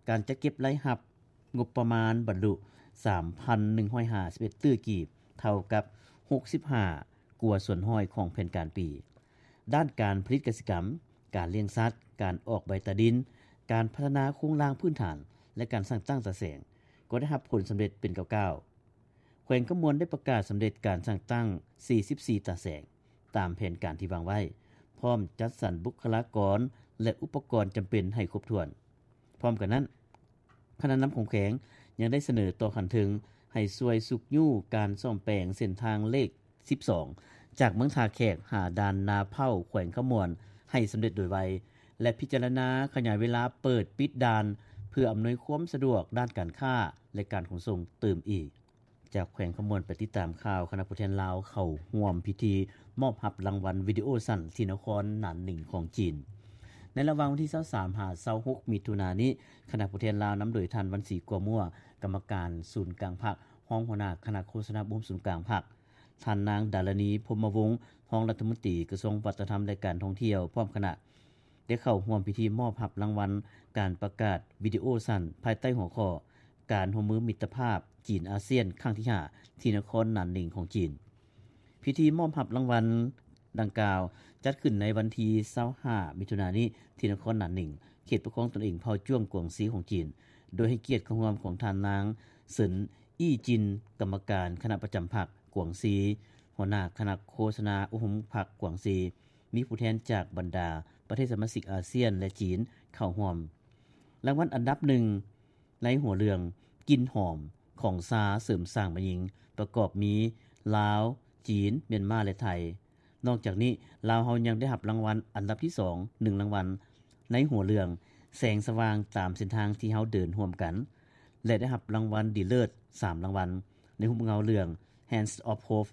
ການຈັດເກັບລາຍຮັບງົບປະມານບັນລຸ ສາມພັນໜຶ່ງຮ້ອຍຫ້າສິບເອັດຕື້ກີບ ເທົ່າກັບ ຫົກສິບຫ້າກວ່າສ່ວນຮ້ອຍຂອງແຜນການປີ. ດ້ານການຜະລິດກະສິກຳ, ການລ້ຽງສັດ, ການອອກໃບຕາດິນ, ການພັດທະນາໂຄງລ່າງພື້ນຖານ ແລະ ການສ້າງຕັ້ງຕາແສງ ກໍໄດ້ຮັບຜົນສຳເລັດເປັນກ້າວໆ. ແຂວງຄຳມ່ວນໄດ້ປະກາດສຳເລັດການສ້າງຕັ້ງ ສີ່ສິບສີ່ຕາແສງ ຕາມແຜນການທີ່ວາງໄວ້, ພ້ອມຈັດສັນບຸກຄະລາກອນ ແລະ ອຸປະກອນຈຳເປັນໃຫ້ຄົບຖ້ວນ. ພ້ອມກັນນັ້ນ, ຄະນະນຳຂອງແຂວງຍັງໄດ້ສະເໜີຕໍ່ຂັ້ນເທິງໃຫ້ຊ່ວຍຊຸກຍູ້ການສ້ອມແປງເສັ້ນທາງເລກສິບສອງ ຈາກເມືອງທ່າແຂກຫາດ່ານນາເພົ້າ ແຂວງຄຳມ່ວນ ໃຫ້ສຳເລັດໂດຍໄວ ແລະ ພິຈາລະນາຂະຫຍາຍເວລາເປີດປິດດ່ານ ເພື່ອອຳນວຍຄວາມສະດວກດ້ານການຄ້າ ແລະ ການຂົນສົ່ງຕື່ມອີກ. ຈາກແຂວງຄຳມ່ວນໄປຕິດຕາມຂ່າວ, ຄະນະຜູ້ແທນລາວເຂົ້າຮ່ວມພິທີມອບຮັບລາງວັນວິດີໂອສັ້ນທີ່ນະຄອນໜານໜິງຂອງຈີນ. ໃນລະຫວ່າງວັນທີຊາວສາມ ຫາ ຊາວຫົກ ມິຖຸນານີ້, ຄະນະຜູ້ແທນລາວນຳໂດຍທ່ານ ວັນສີ ກົວມົວ ກຳມະການສູນກາງພັກ, ຮອງຫົວໜ້າຄະນະໂຄສະນາອົບຮົມສູນກາງພັກ, ທ່ານນາງ ດາລະນີ ພົມມະວົງ ຮອງລັດຖະມົນຕີກະຊວງວັດທະນະທຳ ແລະ ການທ່ອງທ່ຽວ ພ້ອມຄະນະ ໄດ້ເຂົ້າຮ່ວມພິທີມອບຮັບລາງວັນການປະກາດວິດີໂອສັ້ນ ພາຍໃຕ້ຫົວຂໍ້ ການຮ່ວມມືມິດຕະພາບຈີນອາຊຽນຄັ້ງທີຫ້າ ທີ່ນະຄອນໜານໜິງຂອງຈີນ. ພິທີມອບຮັບລາງວັນດັ່ງກ່າວຈັດຂຶ້ນໃນວັນທີຊາວຫ້າ ມິຖຸນານີ້ ທີ່ນະຄອນໜານໜິງ, ເຂດປົກຄອງຕົນເອງເຜົ່າຈ້ວງກວາງຊີຂອງຈີນ, ໂດຍໃຫ້ກຽດເຂົ້າຮ່ວມຂອງທ່ານນາງ ເສີນ ອີ້ຈິນ ກຳມະການຄະນະປະຈຳພັກກວາງຊີ, ຫົວໜ້າຄະນະໂຄສະນາອົບຮົມພັກກວາງຊີ, ມີຜູ້ແທນຈາກບັນດາປະເທດສະມາຊິກອາຊຽນ ແລະ ຈີນເຂົ້າຮ່ວມ. ລາງວັນອັນດັບໜຶ່ງ ໃນຫົວເລື່ອງ ກິ່ນຫອມຂອງຊາເສີມສ້າງແມ່ຍິງ ປະກອບມີ ລາວ, ຈີນ, ມຽນມາ ແລະ ໄທ. ນອກຈາກນີ້, ລາວເຮົາຍັງໄດ້ຮັບລາງວັນອັນດັບທີສອງ ໜຶ່ງລາງວັນ ໃນຫົວເລື່ອງ ແສງສະຫວ່າງຕາມເສັ້ນທາງທີ່ເຮົາເດີນຮ່ວມກັນ ແລະ ໄດ້ຮັບລາງວັນດີເລີດ ສາມລາງວັນ ໃນຮູບເງົາເລື່ອງ Hands of Hope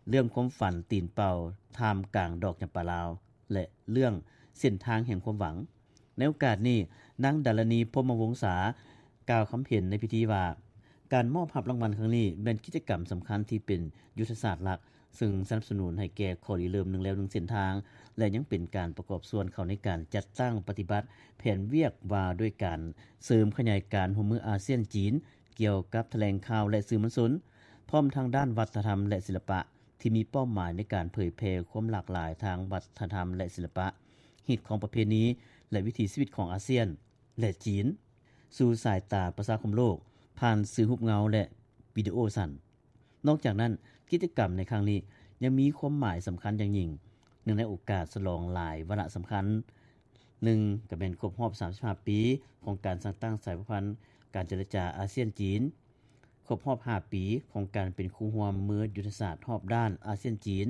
ເລື່ອງຄວາມຝັນຕີນເປົ່າທ່າມກາງດອກຈຳປາລາວ ແລະ ເລື່ອງເສັ້ນທາງແຫ່ງຄວາມຫວັງ. ໃນໂອກາດນີ້, ນາງ ດາລະນີ ພົມມະວົງສາ ກ່າວຄຳເຫັນໃນພິທີວ່າ, ການມອບຮັບລາງວັນຄັ້ງນີ້ແມ່ນກິດຈະກຳສຳຄັນທີ່ເປັນຍຸດທະສາດຫຼັກ, ເຊິ່ງສະໜັບສະໜູນໃຫ້ແກ່ຂໍ້ລິເລີ່ມໜຶ່ງແລວໜຶ່ງເສັ້ນທາງ ແລະ ຍັງເປັນການປະກອບສ່ວນເຂົ້າໃນການຈັດຕັ້ງປະຕິບັດແຜນວຽກວ່າດ້ວຍການເສີມຂະຫຍາຍການຮ່ວມມືອາຊຽນ-ຈີນ ກ່ຽວກັບຖະແຫຼງຂ່າວ ແລະ ສື່ມວນຊົນ, ພ້ອມທັງດ້ານວັດທະນະທຳ ແລະ ສິລະປະ ທີ່ມີເປົ້າໝາຍໃນການເຜີຍແຜ່ຄວາມຫຼາກຫຼາຍທາງວັດທະນະທຳ ແລະ ສິລະປະ, ຮີດຄອງປະເພນີ ແລະ ວິຖີຊີວິດຂອງອາຊຽນ ແລະ ຈີນ ສູ່ສາຍຕາປະຊາຄົມໂລກ ຜ່ານສື່ຮູບເງົາ ແລະ ວິດີໂອສັ້ນ. ນອກຈາກນັ້ນ, ກິດຈະກຳໃນຄັ້ງນີ້ຍັງມີຄວາມໝາຍສຳຄັນຢ່າງຍິ່ງ, ເນື່ອງໃນໂອກາດສະຫຼອງຫຼາຍວາລະສຳຄັນ. ໜຶ່ງ ກໍແມ່ນຄົບຮອບສາມສິບຫ້າປີຂອງການສ້າງຕັ້ງສາຍພົວພັນການເຈລະຈາອາຊຽນ-ຈີນ, ຄົບຮອບຫ້າປີຂອງການເປັນຄູ່ຮ່ວມມືຍຸດທະສາດຮອບດ້ານອາຊຽນ-ຈີນ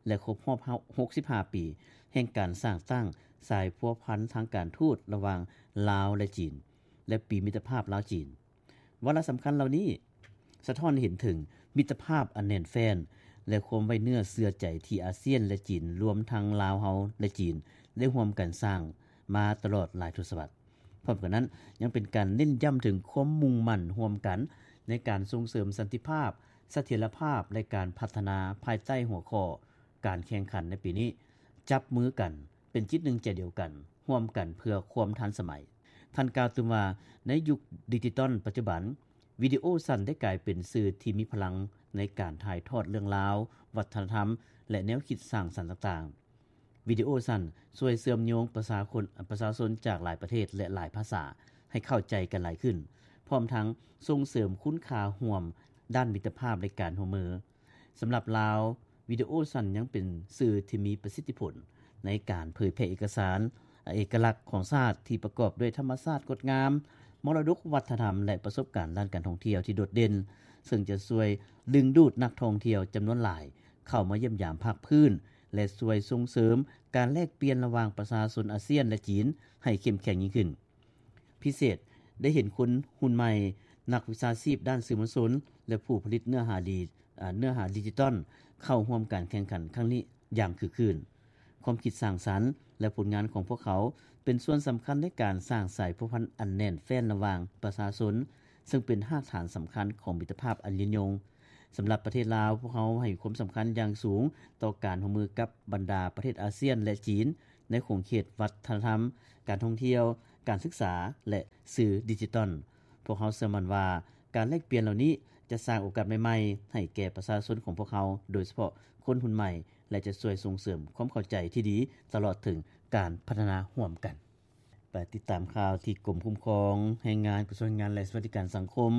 ແລະ ຄົບຮອບຫົກສິບຫ້າປີແຫ່ງການສ້າງຕັ້ງສາຍພົວພັນທາງການທູດລະຫວ່າງລາວ ແລະ ຈີນ ແລະ ປີມິດຕະພາບລາວ-ຈີນ. ວາລະສຳຄັນເຫຼົ່ານີ້ສະທ້ອນໃຫ້ເຫັນເຖິງມິດຕະພາບອັນແໜ້ນແຟ້ນ ແລະ ຄວາມໄວ້ເນື້ອເຊື່ອໃຈທີ່ອາຊຽນ ແລະ ຈີນ, ລວມທັງລາວເຮົາ ແລະ ຈີນ ໄດ້ຮ່ວມກັນສ້າງມາຕະຫຼອດຫຼາຍທົດສະວັດ. ພ້ອມກັນນັ້ນ, ຍັງເປັນການເນັ້ນຢ້ຳເຖິງຄວາມມຸ່ງໝັ້ນຮ່ວມກັນໃນການສົ່ງເສີມສັນຕິພາບ, ສະຖຽນລະພາບ ແລະ ການພັດທະນາພາຍໃຕ້ຫົວຂໍ້ ການແຂ່ງຂັນໃນປີນີ້ ຈັບມືກັນ ເປັນຈິດໜຶ່ງໃຈດຽວກັນ, ຮ່ວມກັນເພື່ອຄວາມທັນສະໄໝ. ທ່ານກ່າວຕື່ມວ່າ, ໃນຍຸກດິຈິຕອນປັດຈຸບັນ, ວິດີໂອສັ້ນໄດ້ກາຍເປັນສື່ທີ່ມີພະລັງໃນການຖ່າຍທອດເລື່ອງລາວ, ວັດທະນະທຳ ແລະ ແນວຄິດສ້າງສັນຕ່າງໆ. ວິດີໂອສັ້ນຊ່ວຍເຊື່ອມໂຍງປະຊາຄົນ, ປະຊາຊົນຈາກຫຼາຍປະເທດ ແລະ ຫຼາຍພາສາໃຫ້ເຂົ້າໃຈກັນຫຼາຍຂຶ້ນ, ພ້ອມທັງສົ່ງເສີມຄຸນຄ່າຮ່ວມດ້ານມິດຕະພາບ ແລະ ການຮ່ວມມື. ສຳລັບລາວ, ວິດີໂອສັ້ນຍັງເປັນສື່ທີ່ມີປະສິດທິຜົນໃນການເຜີຍແຜ່ເອກະສານເອກະລັກຂອງຊາດ ທີ່ປະກອບດ້ວຍທຳມະຊາດງົດງາມ, ມໍລະດົກວັດທະນະທຳ ແລະ ປະສົບການດ້ານການທ່ອງທ່ຽວທີ່ໂດດເດັ່ນ, ເຊິ່ງຈະຊ່ວຍດຶງດູດນັກທ່ອງທ່ຽວຈຳນວນຫຼາຍເຂົ້າມາຢ້ຽມຢາມພາກພື້ນ ແລະ ຊ່ວຍສົ່ງເສີມການແລກປ່ຽນລະຫວ່າງປະຊາຊົນອາຊຽນ ແລະ ຈີນໃຫ້ເຂັ້ມແຂງຍິ່ງຂຶ້ນ. ພິເສດ, ໄດ້ເຫັນຄົນຮຸ່ນໃໝ່, ນັກວິຊາຊີບດ້ານສື່ມວນຊົນ ແລະ ຜູ້ຜະລິດເນື້ອຫາດີ, ເນື້ອຫາດິຈິຕອນ ເຂົ້າຮ່ວມການແຂ່ງຂັນຄັ້ງນີ້ຢ່າງຄຶກຄື້ນ. ຄວາມຄິດສ້າງສັນ ແລະ ຜົນງານຂອງພວກເຂົາ ເປັນສ່ວນສຳຄັນໃນການສ້າງສາຍພົວພັນອັນແໜ້ນແຟ້ນລະຫວ່າງປະຊາຊົນ, ເຊິ່ງເປັນຮາກຖານສຳຄັນຂອງມິດຕະພາບອັນຍືນຍົງ. ສຳລັບປະເທດລາວ, ພວກເຮົາໃຫ້ຄວາມສຳຄັນຢ່າງສູງຕໍ່ການຮ່ວມມືກັບບັນດາປະເທດອາຊຽນ ແລະ ຈີນ ໃນຂົງເຂດວັດທະນະທຳ, ການທ່ອງທ່ຽວ, ການສຶກສາ ແລະ ສື່ດິຈິຕອນ. ພວກເຮົາເຊື່ອໝັ້ນວ່າ ການແລກປ່ຽນເຫຼົ່ານີ້ຈະສ້າງໂອກາດໃໝ່ໆໃຫ້ແກ່ປະຊາຊົນຂອງພວກເຮົາ, ໂດຍສະເພາະຄົນຮຸ່ນໃໝ່ ແລະ ຈະຊ່ວຍສົ່ງເສີມຄວາມເຂົ້າໃຈທີ່ດີ ຕະຫຼອດເຖິງການພັດທະນາຮ່ວມກັນ. ໄປຕິດຕາມຂ່າວທີ່ກົມຄຸ້ມຄອງແຮງງານ ກະຊວງແຮງງານ ແລະ ສະຫວັດດີການສັງຄົມ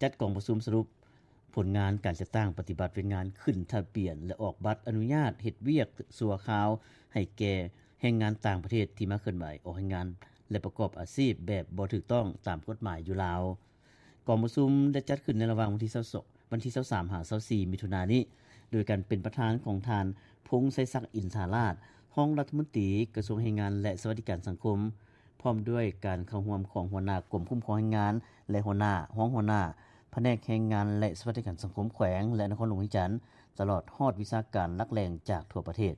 ຈັດກອງປະຊຸມສະຫຼຸບຜົນງານການຈັດຕັ້ງປະຕິບັດວຽກງານຂຶ້ນທະບຽນ ແລະ ອອກບັດອະນຸຍາດເຮັດວຽກຊົ່ວຄາວໃຫ້ແກ່ແຮງງານຕ່າງປະເທດທີ່ມາເຄື່ອນໄຫວອອກແຮງງານ ແລະ ປະກອບອາຊີບແບບບໍ່ຖືກຕ້ອງຕາມກົດໝາຍຢູ່ລາວ. ກອງປະຊຸມໄດ້ຈັດຂຶ້ນໃນລະຫວ່າງວັນທີຊາວສອງ ວັນທີຊາວສາມ ຫາ ຊາວສີ່ ມິຖຸນານີ້ ໂດຍການເປັນປະທານຂອງທ່ານ ພົງໄຊສັກ ອິນທາລາດ ຮອງລັດຖະມົນຕີກະຊວງແຮງງານ ແລະ ສະຫວັດດີການສັງຄົມ, ພ້ອມດ້ວຍການເຂົ້າຮ່ວມຂອງຫົວໜ້າກົມຄຸ້ມຄອງແຮງງານ ແລະ ຫົວໜ້າ, ຮອງຫົວໜ້າພະແນກແຮງງານ ແລະ ສະຫວັດດີການສັງຄົມແຂວງ ແລະ ນະຄອນຫຼວງວຽງຈັນ, ຕະຫຼອດຮອດວິຊາການຫຼັກແຫຼ່ງຈາກທົ່ວປະເທດ.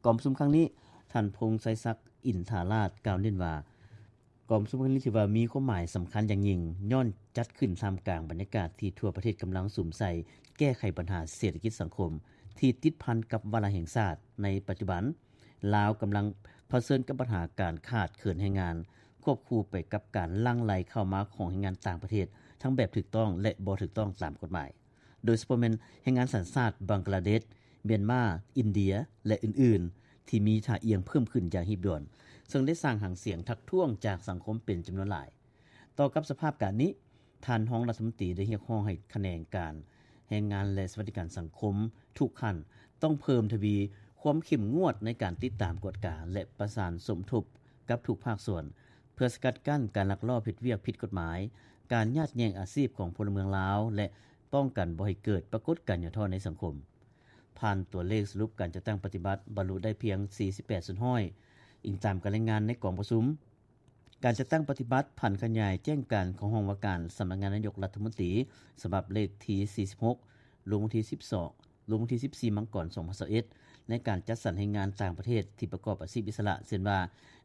ກອງປະຊຸມຄັ້ງນີ້, ທ່ານ ພົງໄຊສັກ ອິນທາລາດ ກ່າວເນັ້ນວ່າ, ກອງປະຊຸມຄັ້ງນີ້ຖືວ່າມີຄວາມໝາຍສຳຄັນຢ່າງຍິ່ງ, ຍ້ອນຈັດຂຶ້ນທ່າມກາງບັນຍາກາດທີ່ທົ່ວປະເທດກຳລັງສຸມໃສ່ແກ້ໄຂບັນຫາເສດຖະກິດສັງຄົມທີ່ຕິດພັນກັບວາລະແຫ່ງຊາດໃນປັດຈຸບັນ. ລາວກຳລັງຜະເຊີນກັບບັນຫາການຂາດເຂີນແຮງງານ, ຄວບຄູ່ໄປກັບການຫຼັ່ງໄຫຼເຂົ້າມາຂອງແຮງງານຕ່າງປະເທດ, ທັງແບບຖືກຕ້ອງ ແລະ ບໍ່ຖືກຕ້ອງຕາມກົດໝາຍ. ໂດຍສະເພາະແມ່ນແຮງງານສັນຊາດບັງກະລາເດດ, ມຽນມາ, ອິນເດຍ ແລະ ອື່ນໆ ທີ່ມີທ່າອ່ຽງເພີ່ມຂຶ້ນຢ່າງຮີບດ່ວນ, ເຊິ່ງໄດ້ສ້າງຫາງສຽງທັກທ້ວງຈາກສັງຄົມເປັນຈຳນວນຫຼາຍ. ຕໍ່ກັບສະພາບການນີ້, ທ່ານຮອງລັດຖະມົນຕີໄດ້ຮຽກຮ້ອງໃຫ້ຂະແໜງການແຮງງານ ແລະ ສະຫວັດດີການສັງຄົມທຸກຂັ້ນ ຕ້ອງເພີ່ມທະວີຄວາມເຂັ້ມງວດໃນການຕິດຕາມກວດກາ ແລະ ປະສານສົມທົບກັບທຸກພາກສ່ວນ ເພື່ອສະກັດກັ້ນການລັກລອບເຮັດວຽກຜິດກົດໝາຍ, ການຍາດແຍ່ງອາຊີບຂອງພົນລະເມືອງລາວ ແລະ ປ້ອງກັນບໍ່ໃຫ້ເກີດປາກົດການຫຍໍ້ທໍ້ໃນສັງຄົມ. ຜ່ານຕົວເລກສະຫຼຸບການຈັດຕັ້ງປະຕິບັດ ບັນລຸໄດ້ພຽງສີ່ສິບແປດສ່ວນຮ້ອຍ, ອີງຕາມການລາຍງານໃນກອງປະຊຸມ. ການຈັດຕັ້ງປະຕິບັດຜັນຂະຫຍາຍແຈ້ງການຂອງຫ້ອງວ່າການສຳນັກງານນາຍົກລັດຖະມົນຕີ ສະບັບເລກທີສີ່ສິບຫົກ ລົງວັນທີສິບສອງ ລົງວັນທີສິບສີ່ ມັງກອນ ສອງພັນຊາວເອັດ ໃນການຈັດສັນແຮງງານຕ່າງປະເທດທີ່ປະກອບອາຊີບອິດສະຫຼະ ເຊັ່ນວ່າ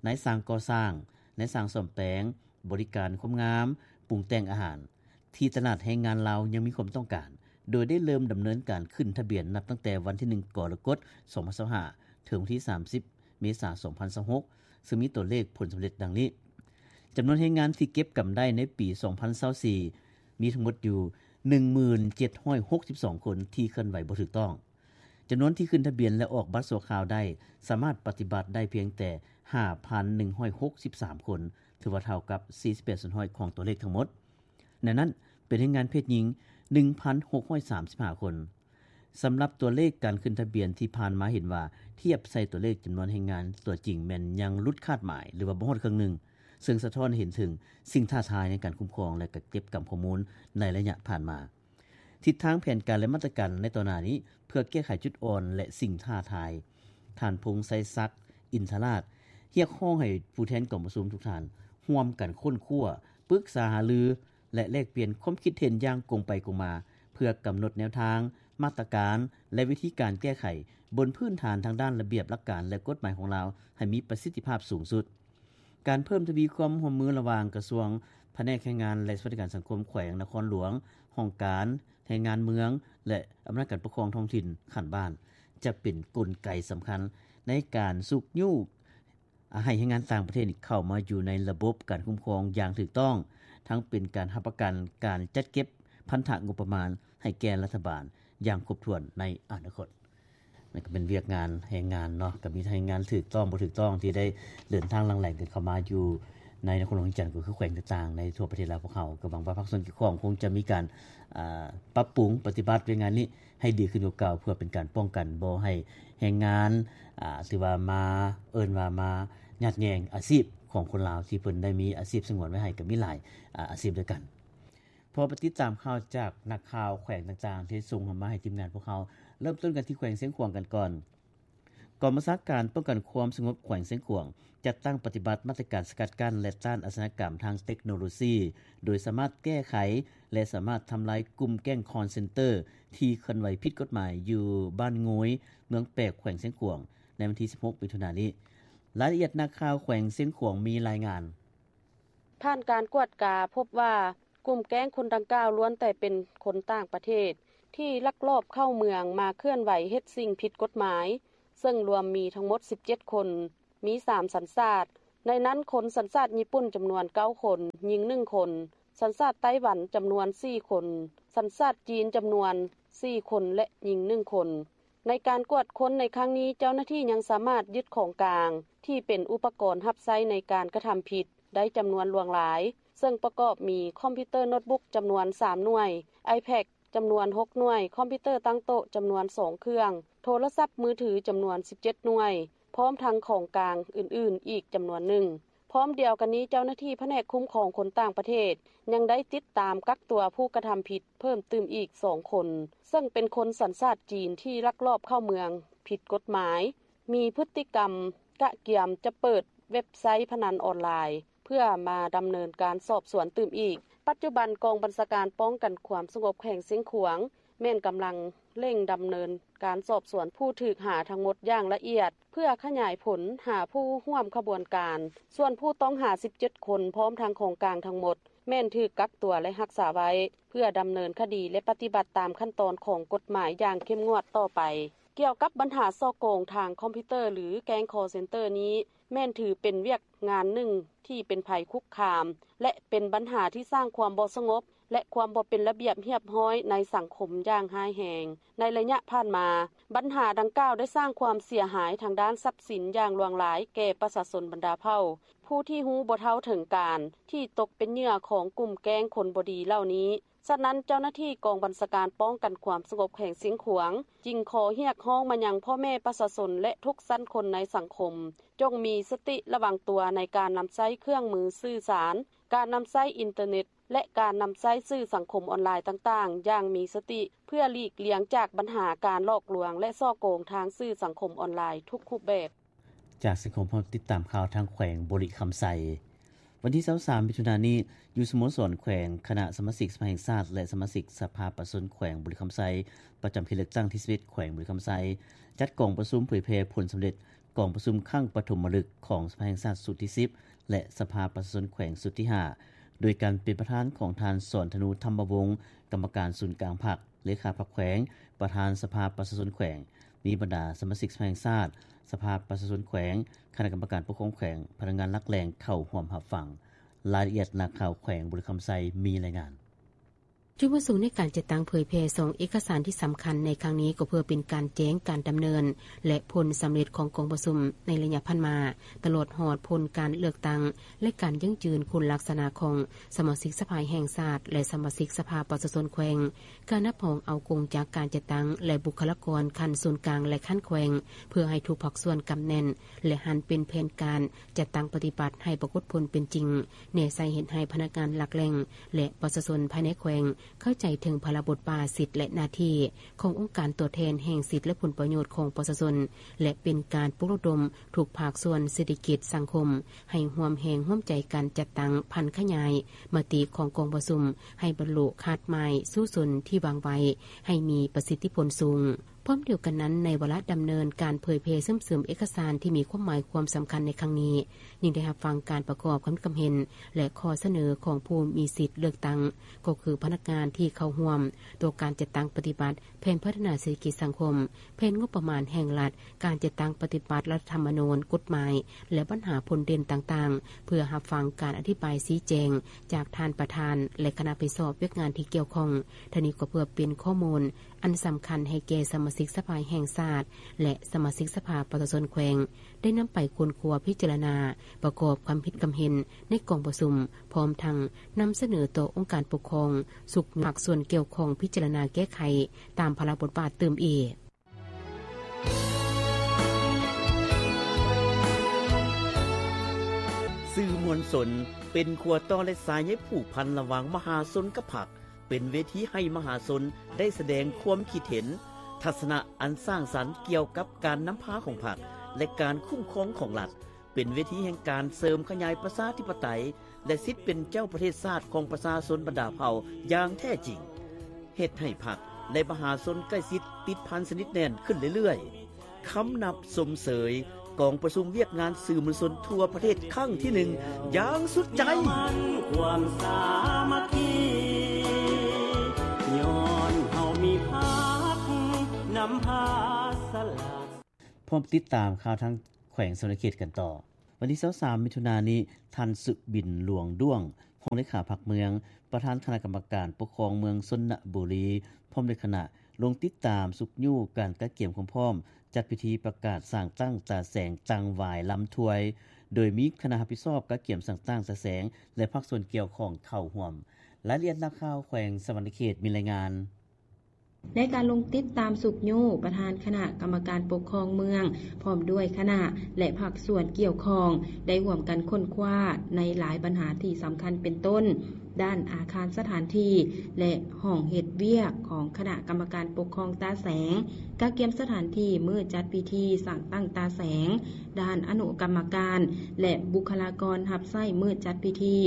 ນາຍຊ່າງກໍ່ສ້າງ, ນາຍຊ່າງສ້ອມແປງ, ບໍລິການຄວາມງາມ, ປຸງແຕ່ງອາຫານ ທີ່ຕະຫຼາດແຮງງານລາວຍັງມີຄວາມຕ້ອງການ, ໂດຍໄດ້ເລີ່ມດຳເນີນການຂຶ້ນທະບຽນນັບຕັ້ງແຕ່ວັນທີໜຶ່ງ ກໍລະກົດ ສອງພັນຊາວຫ້າ ເຖິງວັນທີສາມສິບ ເມສາ ສອງພັນຊາວຫົກ ເຊິ່ງມີຕົວເລກຜົນສຳເລັດດັ່ງນີ້. ຈຳນວນແຮງງານທີ່ເກັບກຳໄດ້ໃນປີສອງພັນຊາວສີ່ ມີທັງໝົດຢູ່ໜຶ່ງໝື່ນເຈັດຮ້ອຍຫົກສິບສອງຄົນທີ່ເຄື່ອນໄຫວບໍ່ຖືກຕ້ອງ. ຈຳນວນທີ່ຂຶ້ນທະບຽນ ແລະ ອອກບັດຊົ່ວຄາວໄດ້ ສາມາດປະຕິບັດໄດ້ພຽງແຕ່ຫ້າພັນໜຶ່ງຮ້ອຍຫົກສິບສາມຄົນ, ຖືວ່າເທົ່າກັບສີ່ສິບແປດສ່ວນຮ້ອຍຂອງຕົວເລກທັງໝົດ. ໃນນັ້ນເປັນແຮງງານເພດຍິງໜຶ່ງພັນຫົກຮ້ອຍສາມສິບຫ້າຄົນ. ສຳລັບຕົວເລກການຂຶ້ນທະບຽນທີ່ຜ່ານມາເຫັນວ່າ ທຽບໃສ່ຕົວເລກຈຳນວນແຮງງານຕົວຈິງແມ່ນຍັງຫຼຸດຄາດໝາຍ ຫຼືວ່າບໍ່ຮອດເຄິ່ງໜຶ່ງ, ເຊິ່ງສະທ້ອນໃຫ້ເຫັນເຖິງສິ່ງທ້າທາຍໃນການຄຸ້ມຄອງ ແລະ ກະເກັບກຳຂໍ້ມູນໃນໄລຍະຜ່ານມາ. ທິດທາງແຜນການ ແລະ ມາດຕະການໃນຕໍ່ໜ້ານີ້ ເພື່ອແກ້ໄຂຈຸດອ່ອນ ແລະ ສິ່ງທ້າທາຍ, ທ່ານ ພົງໄຊສັກ ອິນທະລາດ ຮຽກຮ້ອງໃຫ້ຜູ້ແທນກອງປະຊຸມທຸກທ່ານຮ່ວມກັນຄົ້ນຄວ້າ, ປຶກສາຫາລື ແລະ ແລກປ່ຽນຄວາມຄິດເຫັນຢ່າງກົງໄປກົງມາ ເພື່ອກຳນົດແນວທາງ, ມາດຕະການ ແລະ ວິທີການແກ້ໄຂ ບົນພື້ນຖານທາງດ້ານລະບຽບຫຼັກການ ແລະ ກົດໝາຍຂອງລາວ ໃຫ້ມີປະສິດທິພາບສູງສຸດ. ການເພີ່ມທະວີຄວາມຮ່ວມມືລະຫວ່າງກະຊວງ, ພະແນກແຮງງານ ແລະ ສະຫວັດດີການສັງຄົມແຂວງນະຄອນຫຼວງ, ຫ້ອງການແຮງງານເມືອງ ແລະ ອຳນາດການປົກຄອງທ້ອງຖິ່ນຂັ້ນບ້ານ ຈະເປັນກົນໄກສຳຄັນໃນການຊຸກຍູ້ ໃຫ້ແຮງງານຕ່າງປະເທດນີ້ເຂົ້າມາຢູ່ໃນລະບົບການຄຸ້ມຄອງຢ່າງຖືກຕ້ອງ, ທັງເປັນການຮັບປະກັນການຈັດເກັບພັນທະງົບປະມານໃຫ້ແກ່ລັດຖະບານຢ່າງຄົບຖ້ວນໃນອະນາຄົດ. ນັ້ນກໍເປັນວຽກງານແຮງງານເນາະ, ກໍມີທັງແຮງງານຖືກຕ້ອງ ບໍ່ຖືກຕ້ອງ ທີ່ໄດ້ເດີນທາງຫຼັ່ງໄຫຼກັນເຂົ້າມາຢູ່ໃນນະຄອນຫຼວງວຽງຈັນ ກໍຄືແຂວງຕ່າງໆໃນທົ່ວປະເທດລາວພວກເຮົາ. ກໍຫວັງວ່າພາກສ່ວນກ່ຽວຂ້ອງຄົງຈະມີການ ອາ ປັບປຸງປະຕິບັດວຽກງານນີ້ໃຫ້ດີຂຶ້ນກວ່າເກົ່າ ເພື່ອເປັນການປ້ອງກັນບໍ່ໃຫ້ແຮງງານ ອາ ຖືວ່າມາ ເອີ້ນວ່າມາຍາດແຍ່ງອາຊີບຂອງຄົນລາວ ທີ່ເພິ່ນໄດ້ມີອາຊີບສະຫງວນໄວ້ໃຫ້ ກໍມີຫຼາຍ ອາ ອາຊີບດ້ວຍກັນ. ເພາະວ່າໄປຕິດຕາມຂ່າວຈາກນັກຂ່າວແຂວງຕ່າງໆ ທີ່ສົ່ງມາໃຫ້ທີມງານພວກເຮົາ, ເລີ່ມຕົ້ນກັນທີ່ແຂວງຊຽງຂວາງກັນກ່ອນ. ກອງບັນຊາການປ້ອງກັນຄວາມສະຫງົບແຂວງຊຽງຂວາງ ຈັດຕັ້ງປະຕິບັດມາດຕະການສະກັດກັ້ນ ແລະ ຕ້ານອາຊະຍາກຳທາງເຕັກໂນໂລຊີ ໂດຍສາມາດແກ້ໄຂ ແລະ ສາມາດທຳລາຍກຸ່ມແກ້ງຄອນເຊັນເຕີ ທີ່ເຄື່ອນໄຫວຜິດກົດໝາຍຢູ່ບ້ານງວຍ ເມືອງແປກ ແຂວງຊຽງຂວາງ ໃນວັນທີສິບຫົກ ມິຖຸນານີ້. ລາຍລະອຽດ ນັກຂ່າວແຂວງຊຽງຂວາງມີລາຍງານ. ຜ່ານການກວດກາພົບວ່າ ກຸ່ມແກ້ງຄົນດັ່ງກ່າວລ້ວນແຕ່ເປັນຄົນຕ່າງປະເທດ ທີ່ລັກລອບເຂົ້າເມືອງມາເຄື່ອນໄຫວເຮັດສິ່ງຜິດກົດໝາຍ, ເຊິ່ງລວມມີທັງໝົດສິບເຈັດຄົນ, ມີສາມສັນຊາດ, ໃນນັ້ນຄົນສັນຊາດຍີ່ປຸ່ນຈຳນວນເກົ້າຄົນ, ຍິງໜຶ່ງຄົນ, ສັນຊາດໄຕ້ຫວັນຈຳນວນສີ່ຄົນ, ສັນຊາດຈີນຈຳນວນສີ່ຄົນ ແລະ ຍິງໜຶ່ງຄົນ. ໃນການກວດຄົ້ນໃນຄັ້ງນີ້, ເຈົ້າໜ້າທີ່ຍັງສາມາດຍຶດຂອງກາງທີ່ເປັນອຸປະກອນຮັບໃຊ້ໃນການກະທຳຜິດໄດ້ຈຳນວນຫຼວງຫຼາຍ, ເຊິ່ງປະກອບມີຄອມພິວເຕີໂນດບຸກຈຳນວນສາມໜ່ວຍ, iPad ຈຳນວນຫົກໜ່ວຍ, ຄອມພິວເຕີຕັ້ງໂຕະຈຳນວນສອງເຄື່ອງ, ໂທລະສັບມືຖືຈຳນວນສິບເຈັດໜ່ວຍ, ພ້ອມທັງຂອງກາງອື່ນໆອີກຈຳນວນໜຶ່ງ. ພ້ອມດຽວກັນນີ້, ເຈົ້າໜ້າທີ່ພະແນກຄຸ້ມຄອງຄົນຕ່າງປະເທດຍັງໄດ້ຕິດຕາມກັກຕົວຜູ້ກະທຳຜິດເພີ່ມຕື່ມອີກສອງຄົນ, ເຊິ່ງເປັນຄົນສັນຊາດຈີນທີ່ລັກລອບເຂົ້າເມືອງຜິດກົດໝາຍ, ມີພຶດຕິກຳກະກຽມຈະເປີດເວັບໄຊພະນັນອອນລາຍ ເພື່ອມາດຳເນີນການສອບສວນຕື່ມອີກ. ປັດຈຸບັນກອງບັນຊາການປ້ອງກັນຄວາມສະຫງົບແຂວງຊຽງຂວາງ ແມ່ນກຳລັງເລັ່ງດຳເນີນການສອບສວນຜູ້ຖືກຫາທັງໝົດຢ່າງລະອຽດ ເພື່ອຂະຫຍາຍຜົນຫາຜູ້ຮ່ວມຂະບວນການ. ສ່ວນຜູ້ຕ້ອງຫາສິບເຈັດຄົນ ພ້ອມທັງຂອງກາງທັງໝົດ ແມ່ນຖືກກັກຕົວ ແລະ ຮັກສາໄວ້ ເພື່ອດຳເນີນຄະດີ ແລະ ປະຕິບັດຕາມຂັ້ນຕອນຂອງກົດໝາຍຢ່າງເຂັ້ມງວດຕໍ່ໄປ. ກ່ຽວກັບບັນຫາສໍ້ໂກງທາງຄອມພິວເຕີ ຫຼື ແກ້ງຄອລເຊັນເຕີນີ້ ແມ່ນຖືເປັນວຽກງານໜຶ່ງທີ່ເປັນໄພຄຸກຄາມ ແລະ ເປັນບັນຫາທີ່ສ້າງຄວາມບໍ່ສະຫງົບ ແລະ ຄວາມບໍ່ເປັນລະບຽບຮຽບຮ້ອຍໃນສັງຄົມຢ່າງຮ້າຍແຮງ. ໃນໄລຍະຜ່ານມາ, ບັນຫາດັ່ງກ່າວໄດ້ສ້າງຄວາມເສຍຫາຍທາງດ້ານຊັບສິນຢ່າງຫຼວງຫຼາຍແກ່ປະຊາຊົນບັນດາເຜົ່າ ຜູ້ທີ່ຮູ້ບໍ່ເທົ່າເຖິງການ ທີ່ຕົກເປັນເຫຍື່ອຂອງກຸ່ມແກ້ງຄົນບໍ່ດີເຫຼົ່ານີ້. ສະນັ້ນ, ເຈົ້າໜ້າທີ່ກອງບັນຊາການປ້ອງກັນຄວາມສະຫງົບແຂວງຊຽງຂວາງ ຈຶ່ງຂໍຮຽກຮ້ອງມາຍັງພໍ່ແມ່ປະຊາຊົນ ແລະ ທຸກຊັ້ນຄົນໃນສັງຄົມ ຈົ່ງມີສະຕິລະວັງຕົວໃນການນຳໃຊ້ເຄື່ອງມືສື່ສານ, ການນຳໃຊ້ອິນເຕີເນັດ ແລະ ການນຳໃຊ້ສື່ສັງຄົມອອນລາຍຕ່າງໆຢ່າງມີສະຕິ ເພື່ອຫຼີກລ່ຽງຈາກບັນຫາການຫຼອກລວງ ແລະ ສໍ້ໂກງທາງສື່ສັງຄົມອອນລາຍທຸກຮູບແບບ. ຈາກສັງຄົມ ເຮົາຕິດຕາມຂ່າວທາງແຂວງບໍລິຄຳໄຊ. ວັນທີຊາວສາມ ມິຖຸນານີ້, ຢູ່ສະໂມສອນແຂວງ, ຄະນະສະມາຊິກສະພາແຫ່ງຊາດ ແລະ ສະມາຊິກສະພາປະຊາຊົນແຂວງບໍລິຄຳໄຊ ປະຈຳເຂດເລືອກຕັ້ງທີສິບເອັດ ແຂວງບໍລິຄຳໄຊ ຈັດກອງປະຊຸມເຜີຍແຜ່ຜົນສຳເລັດ ກອງປະຊຸມຄັ້ງປະຖົມມະລຶກຂອງສະພາແຫ່ງຊາດຊຸດທີສິບ ແລະ ສະພາປະຊາຊົນແຂວງຊຸດທີຫ້າ ໂດຍການເປັນປະທານຂອງທ່ານ ສອນທະນູ ທຳມະວົງ ກຳມະການສູນກາງພັກ, ເລຂາພັກແຂວງ, ປະທານສະພາປະຊາຊົນແຂວງ, ມີບັນດາສະມາຊິກສະພາແຫ່ງຊາດ, ສະພາປະຊາຊົນແຂວງ, ຄະນະກຳມະການປົກຄອງແຂວງ, ພະນັກງານຫຼັກແຫຼ່ງເຂົ້າຮ່ວມຮັບຟັງ. ລາຍລະອຽດນັກຂ່າວແຂວງບໍລິຄຳໄຊມີລາຍງານ. ຈຸດປະສົງໃນການຈັດຕັ້ງເຜີຍແຜ່ສອງເອກະສານທີ່ສຳຄັນໃນຄັ້ງນີ້ ກໍເພື່ອເປັນການແຈ້ງການດຳເນີນ ແລະ ຜົນສຳເລັດຂອງກອງປະຊຸມໃນໄລຍະຜ່ານມາ, ຕະຫຼອດຮອດຜົນການເລືອກຕັ້ງ ແລະ ການຢັ້ງຢືນຄຸນລັກສະນະຂອງສະມາຊິກສະພາແຫ່ງຊາດ ແລະ ສະມາຊິກສະພາປະຊາຊົນແຂວງ, ການຮັບຮອງເອົາກົງຈັກການຈັດຕັ້ງ ແລະ ບຸກຄະລາກອນຂັ້ນສູນກາງ ແລະ ຂັ້ນແຂວງ ເພື່ອໃຫ້ທຸກພາກສ່ວນກຳແໜ້ນ ແລະ ຫັນເປັນແຜນການຈັດຕັ້ງປະຕິບັດໃຫ້ປາກົດຜົນເປັນຈິງ, ແນໃສ່ເຮັດໃຫ້ພະນັກງານຫຼັກແຫຼ່ງ ແລະ ປະຊາຊົນພາຍໃນແຂວງເຂົ້າໃຈເຖິງພາລະບົດບາດ, ສິດ ແລະ ໜ້າທີ່ຂອງອົງການຕົວແທນແຫ່ງສິດ ແລະ ຜົນປະໂຫຍດຂອງປະຊາຊົນ ແລະ ເປັນການປຸກລະດົມທຸກພາກສ່ວນເສດຖະກິດສັງຄົມ ໃຫ້ຮ່ວມແຮງຮ່ວມໃຈກັນຈັດຕັ້ງຜັນຂະຫຍາຍມະຕິຂອງກອງປະຊຸມໃຫ້ບັນລຸຄາດໝາຍສູ້ຊົນທີ່ວາງໄວ້ໃຫ້ມີປະສິດທິຜົນສູງ. ພ້ອມດຽວກັນນັ້ນ, ໃນວາລະດຳເນີນການເຜີຍແຜ່ເຊື່ອມເສີມເອກະສານທີ່ມີຄວາມໝາຍຄວາມສຳຄັນໃນຄັ້ງນີ້, ຍັງໄດ້ຮັບຟັງການປະກອບຄຳຄິດຄຳເຫັນ ແລະ ຂໍ້ສະເໜີຂອງຜູ້ມີສິດເລືອກຕັ້ງ, ກໍຄືພະນັກງານທີ່ເຂົ້າຮ່ວມຕໍ່ການຈັດຕັ້ງປະຕິບັດ ແຜນພັດທະນາເສດຖະກິດສັງຄົມ, ແຜນງົບປະມານແຫ່ງລັດ, ການຈັດຕັ້ງປະຕິບັດລັດຖະທຳມະນູນ, ກົດໝາຍ ແລະ ບັນຫາຜົນເດັ່ນຕ່າງໆ ເພື່ອຮັບຟັງການອະທິບາຍຊີ້ແຈງຈາກທ່ານປະທານ ແລະ ຄະນະຮັບຜິດຊອບວຽກງານທີ່ກ່ຽວຂ້ອງ. ທັງນີ້ກໍເພື່ອເປັນຂໍ້ມູນອັນສຳຄັນໃຫ້ແກ່ສະມາຊິກສະພາແຫ່ງຊາດ ແລະ ສະມາຊິກສະພາປະຊາຊົນແຂວງ ໄດ້ນຳໄປຄົ້ນຄວ້າພິຈາລະນາ, ປະກອບຄຳຄິດຄຳເຫັນໃນກອງປະຊຸມ, ພ້ອມທັງນຳສະເໜີຕໍ່ອົງການປົກຄອງ, ສຸກພາກສ່ວນກ່ຽວຂ້ອງພິຈາລະນາແກ້ໄຂຕາມພາລະບົດບາດຕື່ມອີກ. ສື່ມວນຊົນເປັນຂົວຕໍ່ ແລະ ສາຍໃຍຜູກພັນລະຫວ່າງມະຫາຊົນກັບພັກ. ເປັນເວທີໃຫ້ມະຫາຊົນໄດ້ສະແດງຄວາມຄິດເຫັນ, ທັດສະນະອັນສ້າງສັນກ່ຽວກັບການນຳພາຂອງພັກ ແລະ ການຄຸ້ມຄອງຂອງລັດ, ເປັນເວທີແຫ່ງການເສີມຂະຫຍາຍປະຊາທິປະໄຕ ແລະ ສິດເປັນເຈົ້າປະເທດຊາດຂອງປະຊາຊົນບັນດາເຜົ່າຢ່າງແທ້ຈິງ, ເຮັດໃຫ້ພັກ ແລະ ມະຫາຊົນໃກ້ຊິດຕິດພັນສະໜິດແໜ້ນຂຶ້ນເລື້ອຍໆ. ຄຳນັບຊົມເຊີຍກອງປະຊຸມວຽກງານສື່ມວນຊົນທົ່ວປະເທດຄັ້ງທີໜຶ່ງຢ່າງສຸດໃຈ. ຄວາມສາມັກຄີ ຍ້ອນເຮົາມີພັກນຳພາສະຫຼາດ. ພ້ອມຕິດຕາມຂ່າວທາງແຂວງສະຫວັນນະເຂດກັນຕໍ່. ວັນທີຊາວສາມ ມິຖຸນານີ້, ທ່ານ ສຸບິນ ຫຼວງດ້ວງ ຮອງເລຂາພັກເມືອງ, ປະທານຄະນະກຳມະການປົກຄອງເມືອງຊົນນະບູລີ ພ້ອມດ້ວຍຄະນະ ລົງຕິດຕາມຊຸກຍູ້ການກະກຽມຄວາມພ້ອມ ຈັດພິທີປະກາດສ້າງຕັ້ງຕາແສງ ຕັ້ງຫວາຍລຳຖວາຍ, ໂດຍມີຄະນະຮັບຜິດຊອບກະກຽມສ້າງຕັ້ງຕາແສງ ແລະ ພາກສ່ວນກ່ຽວຂ້ອງເຂົ້າຮ່ວມ. ລາຍລະອຽດນັກຂ່າວແຂວງສະຫວັນນະເຂດມີລາຍງານ. ໃນການລົງຕິດຕາມຊຸກຍູ້, ປະທານຄະນະກຳມະການປົກຄອງເມືອງ ພ້ອມດ້ວຍຄະນະ ແລະ ພາກສ່ວນກ່ຽວຂ້ອງ ໄດ້ຮ່ວມກັນຄົ້ນຄວ້າໃນຫຼາຍບັນຫາທີ່ສຳຄັນ ເປັນຕົ້ນ ດ້ານອາຄານສະຖານທີ່ ແລະ ຫ້ອງເຮັດວຽກຂອງຄະນະກຳມະການປົກຄອງຕາແສງ, ກະກຽມສະຖານທີ່ມື້ຈັດພິທີສ້າງຕັ້ງຕາແສງ, ດ້ານອະນຸກຳມະການ ແລະ ບຸກຄະລາກອນຮັບໃຊ້ມື້ຈັດພິທີ,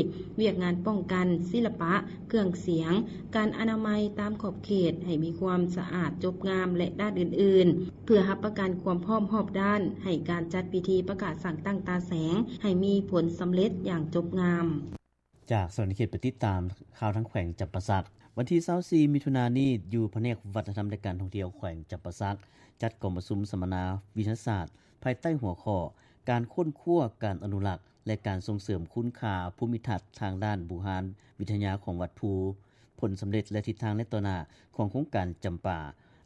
ວຽກງານປ້ອງກັນ, ສິລະປະ, ເຄື່ອງສຽງ, ການອະນາໄມຕາມຂອບເຂດໃຫ້ມີຄວາມສະອາດຈົບງາມ ແລະ ດ້ານອື່ນໆ ເພື່ອຮັບປະກັນຄວາມພ້ອມຮອບດ້ານໃຫ້ການຈັດພິທີປະກາດສ້າງຕັ້ງຕາແສງໃຫ້ມີຜົນສຳເລັດຢ່າງຈົບງາມ. ຈາກສະຫວັນນະເຂດໄປຕິດຕາມຂ່າວທາງແຂວງຈຳປາສັກ. ວັນທີຊາວສີ່ ມິຖຸນານີ້, ຢູ່ພະແນກວັດທະນະທຳ ແລະ ການທ່ອງທ່ຽວແຂວງຈຳປາສັກ ຈັດກອງປະຊຸມສຳມະນາວິທະຍາສາດ ພາຍໃຕ້ຫົວຂໍ້ ການຄົ້ນຄວ້າ, ການອະນຸລັກ ແລະ ການສົ່ງເສີມຄຸນຄ່າພູມິທັດທາງດ້ານບູຮານວິທະຍາຂອງວັດພູ, ຜົນສຳເລັດ ແລະ ທິດທາງໃນຕໍ່ໜ້າຂອງໂຄງການຈຳປາ,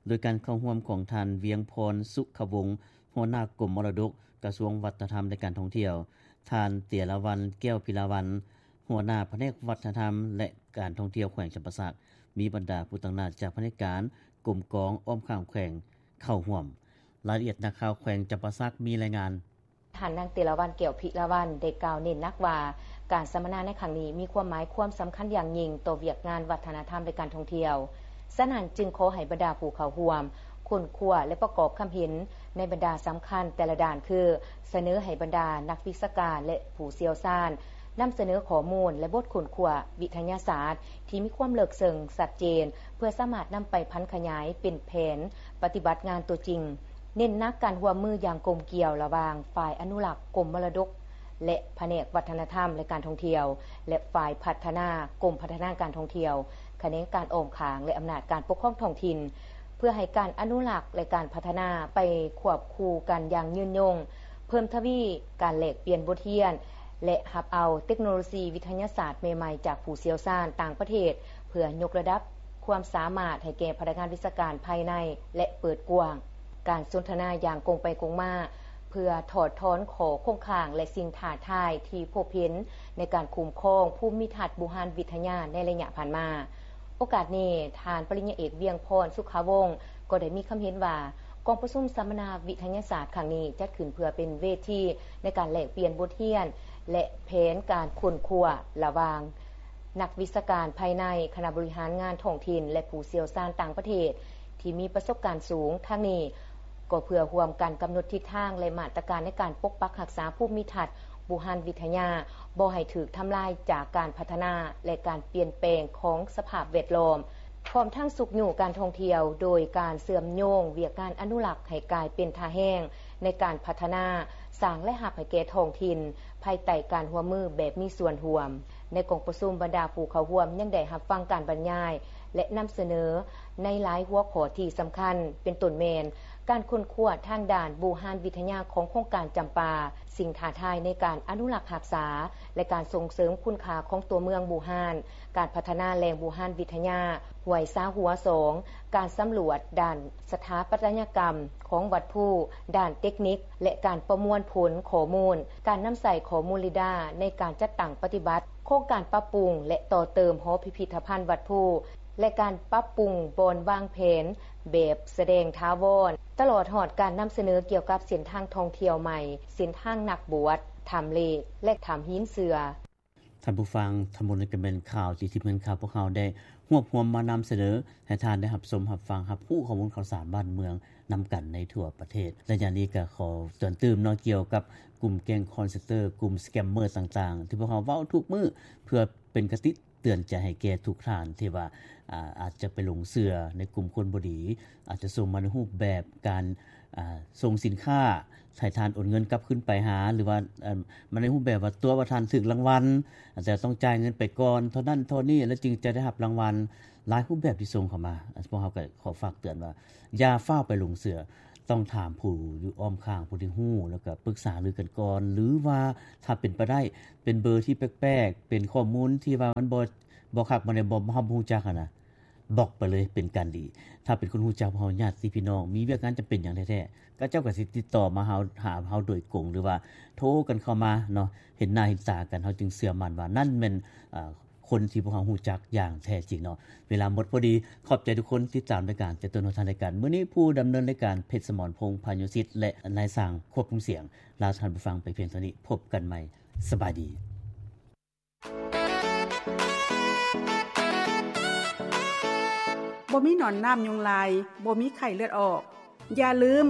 ໂດຍການເຂົ້າຮ່ວມຂອງທ່ານ ວຽງພອນ ສຸຂະວົງ ຫົວໜ້າກົມມໍລະດົກ ກະຊວງວັດທະນະທຳ ແລະ ການທ່ອງທ່ຽວ, ທ່ານ ເຕຍລະວັນ ແກ້ວພິລາວັນ ຫົວໜ້າພະແນກວັດທະນະທຳ ແລະ ການທ່ອງທ່ຽວແຂວງຈຳປາສັກ, ມີບັນດາຜູ້ຕາງໜ້າຈາກພະແນກການ, ກົມກອງ, ອ້ອມຂ້າງແຂວງເຂົ້າຮ່ວມ. ລາຍລະອຽດນັກຂ່າວແຂວງຈຳປາສັກມີລາຍງານ. ທ່ານນາງ ເຕຍລະວັນ ແກ້ວພິລາວັນ ໄດ້ກ່າວເນັ້ນໜັກວ່າ ການສຳມະນາໃນຄັ້ງນີ້ມີຄວາມໝາຍຄວາມສຳຄັນຢ່າງຍິ່ງຕໍ່ວຽກງານວັດທະນະທຳ ແລະ ການທ່ອງທ່ຽວ. ສະນັ້ນຈຶ່ງຂໍໃຫ້ບັນດາຜູ້ເຂົ້າຮ່ວມ ຄົ້ນຄວ້າ ແລະ ປະກອບຄຳເຫັນໃນບັນດາສຳຄັນແຕ່ລະດ້ານ ຄື ສະເໜີໃຫ້ບັນດານັກວິຊາການ ແລະ ຜູ້ຊ່ຽວຊານ ນຳສະເໜີຂໍ້ມູນ ແລະ ບົດຄົ້ນຄວ້າວິທະຍາສາດທີ່ມີຄວາມເລິກເຊິ່ງຊັດເຈນ ເພື່ອສາມາດນຳໄປຜັນຂະຫຍາຍເປັນແຜນປະຕິບັດງານຕົວຈິງ, ເນັ້ນໜັກການຮ່ວມມືຢ່າງກົມກ່ຽວລະຫວ່າງຝ່າຍອະນຸລັກກົມມໍລະດົກ ແລະ ພະແນກວັດທະນະທຳ ແລະ ການທ່ອງທ່ຽວ ແລະ ຝ່າຍພັດທະນາ ກົມພັດທະນາການທ່ອງທ່ຽວ, ຂະແໜງການອ້ອມຂ້າງ ແລະ ອຳນາດການປົກຄອງທ້ອງຖິ່ນ ເພື່ອໃຫ້ການອະນຸລັກ ແລະ ການພັດທະນາໄປຄວບຄູ່ກັນຢ່າງຍືນຍົງ, ເພີ່ມທະວີການແລກປ່ຽນບົດຮຽນ ແລະ ຮັບເອົາເຕັກໂນໂລຊີວິທະຍາສາດໃໝ່ໆຈາກຜູ້ຊ່ຽວຊານຕ່າງປະເທດ ເພື່ອຍົກລະດັບຄວາມສາມາດໃຫ້ແກ່ພະນັກງານວິຊາການພາຍໃນ ແລະ ເປີດກວ້າງການສົນທະນາຢ່າງກົງໄປກົງມາ ເພື່ອຖອດຖອນຂໍ້ຄົງຄ້າງ ແລະ ສິ່ງທ້າທາຍທີ່ພົບເຫັນໃນການຄຸ້ມຄອງພູມມິທັດບູຮານວິທະຍາໃນໄລຍະຜ່ານມາ. ໂອກາດນີ້, ທ່ານປະລິນຍາເອກ ວຽງພອນ ສຸຂະວົງ ກໍໄດ້ມີຄຳເຫັນວ່າ ກອງປະຊຸມສຳມະນາວິທະຍາສາດຄັ້ງນີ້ ຈັດຂຶ້ນເພື່ອເປັນເວທີໃນການແລກປ່ຽນບົດຮຽນ ແລະ ແຜນການຄົ້ນຄວ້າລະຫວ່າງນັກວິຊາການພາຍໃນ, ຄະນະບໍລິຫານງານທ້ອງຖິ່ນ ແລະ ຜູ້ຊ່ຽວຊານຕ່າງປະເທດທີ່ມີປະສົບການສູງ. ທັງນີ້ກໍເພື່ອຮ່ວມກັນກຳນົດທິດທາງ ແລະ ມາດຕະການໃນການປົກປັກຮັກສາພູມມິທັດບູຮານວິທະຍາ ບໍ່ໃຫ້ຖືກທຳລາຍຈາກການພັດທະນາ ແລະ ການປ່ຽນແປງຂອງສະພາບແວດລ້ອມ. ພ້ອມທັງຊຸກຍູ້ການທ່ອງທ່ຽວ ໂດຍການເຊື່ອມໂຍງວຽກງານອະນຸລັກໃຫ້ກາຍເປັນທ່າແຮງໃນການພັດທະນາ, ສ້າງລາຍຮັບໃຫ້ແກ່ທ້ອງຖິ່ນ ພາຍໃຕ້ການຮ່ວມມືແບບມີສ່ວນຮ່ວມ. ໃນກອງປະຊຸມ, ບັນດາຜູ້ເຂົ້າຮ່ວມຍັງໄດ້ຮັບຟັງການບັນຍາຍ ແລະ ນຳສະເໜີໃນຫຼາຍຫົວຂໍ້ທີ່ສຳຄັນ, ເປັນຕົ້ນແມ່ນ ການຄົ້ນຄວ້າທາງດ້ານບູຮານວິທະຍາຂອງໂຄງການຈຳປາ, ສິ່ງທ້າທາຍໃນການອະນຸລັກຮັກສາ ແລະ ການສົ່ງເສີມຄຸນຄ່າຂອງຕົວເມືອງບູຮານ, ການພັດທະນາແຫຼ່ງບູຮານວິທະຍາ, ຫ້ວຍສາຫົວສອງ, ການສຳຫຼວດດ້ານສະຖາປັດຕະຍະກຳຂອງວັດພູ, ດ້ານເຕັກນິກ ແລະ ການປະມວນຜົນຂໍ້ມູນ, ການນຳໃຊ້ຂໍ້ມູນເຣດ້າໃນການຈັດຕັ້ງປະຕິບັດໂຄງການປັບປຸງ ແລະ ຕໍ່ເຕີມຫໍພິພິທະພັນວັດພູ ແລະ ການປັບປຸງບ່ອນວາງແຜນແບບສະແດງຖາວອນ, ຕະຫຼອດຮອດການນຳສະເໜີກ່ຽວກັບເສັ້ນທາງທ່ອງທ່ຽວໃໝ່, ເສັ້ນທາງນັກບວດ, ຖ້ຳເລກ ແລະ ຖ້ຳຫີນເສືອ. ທ່ານຜູ້ຟັງ, ທັງໝົດນີ້ກໍແມ່ນຂ່າວທີ່ທີມງານຂ່າວພວກເຮົາໄດ້ຮວບຮວມມານຳສະເໜີໃຫ້ທ່ານໄດ້ຮັບຊົມ, ຮັບຟັງ, ຮັບຮູ້ຂໍ້ມູນຂ່າວສານບ້ານເມືອງນຳກັນໃນທົ່ວປະເທດ. ໄລຍະນີ້ກໍຂໍເຕືອນຕື່ມເນາະ, ກ່ຽວກັບກຸ່ມແກ້ງຄອນເຊັນເຕີ, ກຸ່ມສະແກມເມີຕ່າງໆ ທີ່ພວກເຮົາເວົ້າທຸກມື້ ເພື່ອເປັນຄະຕິ ເຕືອນໃຈໃຫ້ແກ່ທຸກທ່ານທີ່ວ່າ ອາ ອາດຈະໄປຫຼົງເຊື່ອໃນກຸ່ມຄົນບໍ່ດີ, ອາດຈະສົ່ງມາໃນຮູບແບບການ ອາ ສົ່ງສິນຄ້າໃຫ້ທ່ານໂອນເງິນກັບຄືນໄປຫາ ຫຼືວ່າ ເອີ່ມ ມາໃນຮູບແບບວ່າຕົວະວ່າທ່ານຖືກລາງວັນ, ອາດຈະຕ້ອງຈ່າຍເງິນໄປກ່ອນເທົ່ານັ້ນເທົ່ານີ້ ແລ້ວຈຶ່ງຈະໄດ້ຮັບລາງວັນ. ຫຼາຍຮູບແບບທີ່ສົ່ງເຂົ້າມາ, ພວກເຮົາກໍຂໍຝາກເຕືອນວ່າ ຢ່າຟ້າວໄປຫຼົງເຊື່ອ. ຕ້ອງຖາມຜູ້ຢູ່ອ້ອມຂ້າງ ຜູ້ທີ່ຮູ້ ແລ້ວກໍປຶກສາຫາລືກັນກ່ອນ ຫຼືວ່າຖ້າເປັນໄປໄດ້ ເປັນເບີທີ່ແປກໆ ເປັນຂໍ້ມູນທີ່ວ່າມັນບໍ່ ບໍ່ຄັກ ບໍ່ແນ່ ບໍ່ ເຮົາບໍ່ຮູ້ຈັກຫັ້ນນະ ບລັອກໄປເລີຍເປັນການດີ. ຖ້າເປັນຄົນຮູ້ຈັກເຮົາ ຍາດຕິພີ່ນ້ອງ ມີວຽກງານຈຳເປັນຫຍັງແທ້ໆ ເຂົາເຈົ້າກໍຊິຕິດຕໍ່ມາເຮົາ ຫາເຮົາໂດຍກົງ ຫຼືວ່າໂທກັນເຂົ້າມາເນາະ ເຫັນໜ້າເຫັນຕາກັນ ເຮົາຈຶ່ງເຊື່ອໝັ້ນວ່ານັ້ນແມ່ນ ເອີ ຄົນທີ່ພວກເຮົາຮູ້ຈັກຢ່າງແທ້ຈິງເນາະ. ເວລາໝົດພໍດີ ຂອບໃຈທຸກຄົນຕິດຕາມລາຍການ ຈະຕົ້ນຮອດທ້າຍລາຍການ. ມື້ນີ້ຜູ້ດຳເນີນລາຍການ ເພັດສະໝອນ ພົງພານຸສິດ ແລະ ນາຍຊ່າງຄວບຄຸມສຽງ ລາທ່ານຜູ້ຟັງໄປພຽງເທົ່ານີ້. ພົບກັນໃໝ່. ສະບາຍດີ. ບໍ່ມີໜອນນ້ຳຍຸງລາຍ, ບໍ່ມີໄຂ້ເລືອດອອກ. ຢ່າລືມ,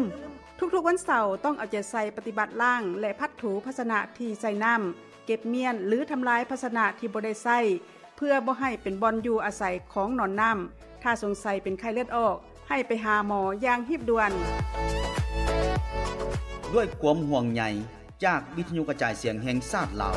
ທຸກໆວັນເສົາຕ້ອງເອົາໃຈໃສ່ປະຕິບັດລ້າງ ແລະ ພັດຖູພາຊະນະທີ່ໃສ່ນ້ຳ, ເກັບມ້ຽນ ຫຼື ທຳລາຍພາຊະນະທີ່ບໍ່ໄດ້ໃຊ້ ເພື່ອບໍ່ໃຫ້ເປັນບ່ອນຢູ່ອາໄສຂອງໜອນນ້ຳ. ຖ້າສົງໄສເປັນໄຂ້ເລືອດອອກ, ໃຫ້ໄປຫາໝໍຢ່າງຮີບດ່ວນ. ດ້ວຍຄວາມຫ່ວງໃຍຈາກວິທະຍຸກະຈາຍສຽງແຫ່ງຊາດລາວ.